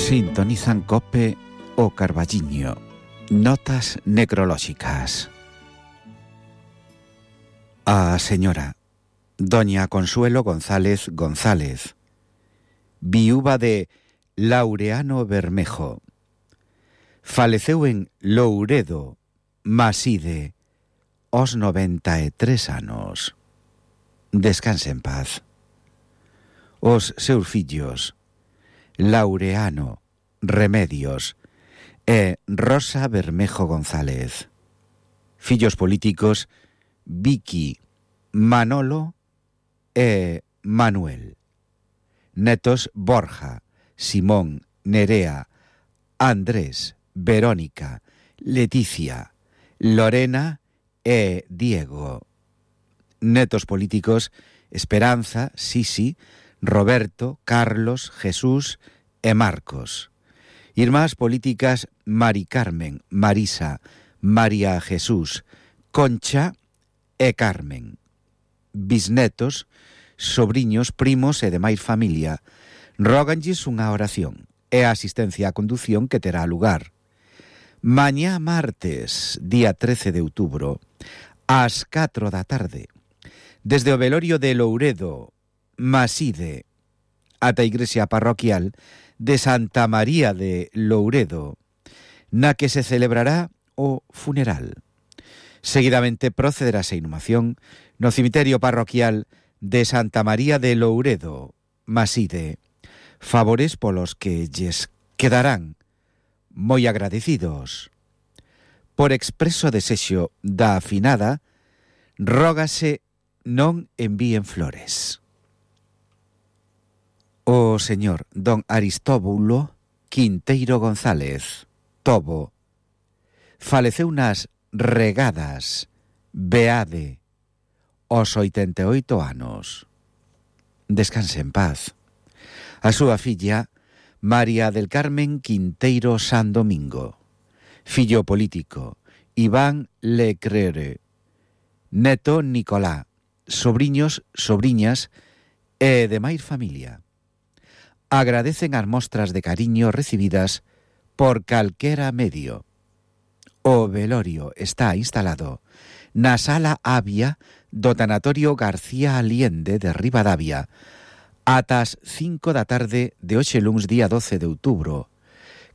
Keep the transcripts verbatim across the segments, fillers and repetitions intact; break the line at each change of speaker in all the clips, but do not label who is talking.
Sintonizan Cope o Carballiño. Notas necrolóxicas. A señora Doña Consuelo González González, viúva de Laureano Bermejo, faleceu en Louredo, Maside, aos noventa e tres anos. Descanse en paz. Os seus fillos, Laureano Remedios e Rosa Bermejo González. Fillos políticos, Vicky, Manolo e Manuel. Netos, Borja, Simón, Nerea, Andrés, Verónica, Leticia, Lorena e Diego. Netos políticos, Esperanza, Sisi, Roberto, Carlos, Jesús e Marcos. Irmás políticas, Mari Carmen, Marisa, María Jesús, Concha e Carmen. Bisnetos, sobriños, primos e demais familia, róganlles unha oración e a asistencia á condución que terá lugar mañá martes, día trece de outubro, ás catro da tarde, desde o velorio de Louredo, Maside, ata a igrexa parroquial de Santa María de Louredo, na que se celebrará o funeral. Seguidamente procederase a inhumación no cemiterio parroquial de Santa María de Louredo, Maside, favores polos que lles quedarán moi agradecidos. Por expreso desexo da afinada, rógase non envíen flores. O señor don Aristóbulo Quinteiro González, Tobo, faleceu nas Regadas, Beade, aos oitenta e oito anos. Descanse en paz. A súa filla, María del Carmen Quinteiro San Domingo. Fillo político, Iván Lecrere. Neto, Nicolá. Sobriños, sobriñas e demais familia. Agradecen as mostras de cariño recibidas por calquera medio. O velorio está instalado na sala Avia do Tanatorio García Aliende de Ribadavia ata as cinco da tarde de hoxe luns día doce de outubro,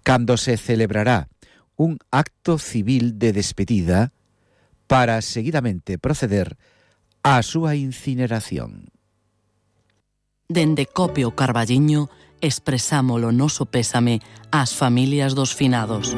cando se celebrará un acto civil de despedida para seguidamente proceder á súa incineración.
Dende Cope o Carballiño expresamos o noso pésame ás familias dos finados.